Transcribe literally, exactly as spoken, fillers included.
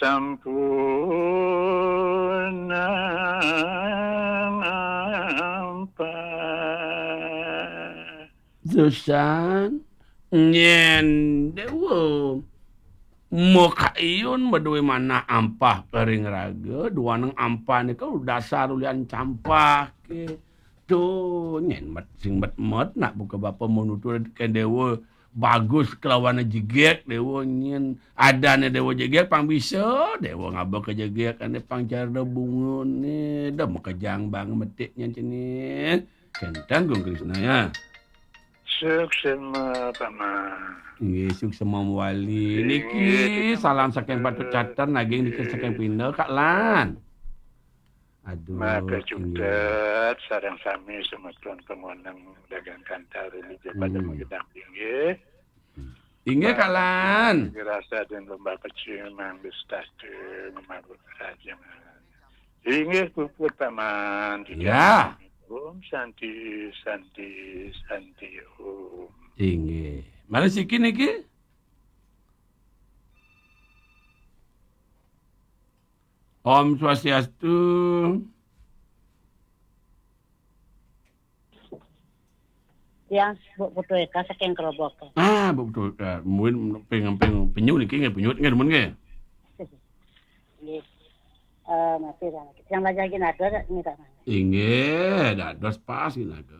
Sampunang ampah. Susan, nyén Déwa makaiyun madué manah ampah ka ring raga, duaneng ampah nika dasar ulian campah ké. Tuh, nyén met sing met-met nak buka bapa manutur kén Déwa bagus kelawan jegég Déwa nyén. Adané Déwa jegég pang bisa, Déwa ngaba ka jegég ané pang cara bungané, da makejang bang metik nyén cening. Kénten Gung Krisna ya. Suksma, Paman. Inggih, suksma mawali. Inggih, niki salam saking Patut Cater, naging niki saking Pinda, Kak Lan. Aduh, maka inggih. Jugat sareng sami semeton pamoneng dagang kantar ring pada Hmm. magedang inggih. Inggih, Kak Lan. Rasa dan lomba kecil manggus tatu memabur kerajaan. Inggih puput, Paman. Ya. Om Santi, Santi, Santi Om. Inggih. Malih siki niki? Om Swastiastu. Tiang Bu Putu Eka saking Kerobokan. Ah, Bu Putu Eka. Mungkin ping, ping, penyu niki nggih, penyu nggih, demen nggih. Nggih. Eh, masih dah. Tiang belajar lagi nada tak? Ini tak mana? Inggih, dados pas ginaga.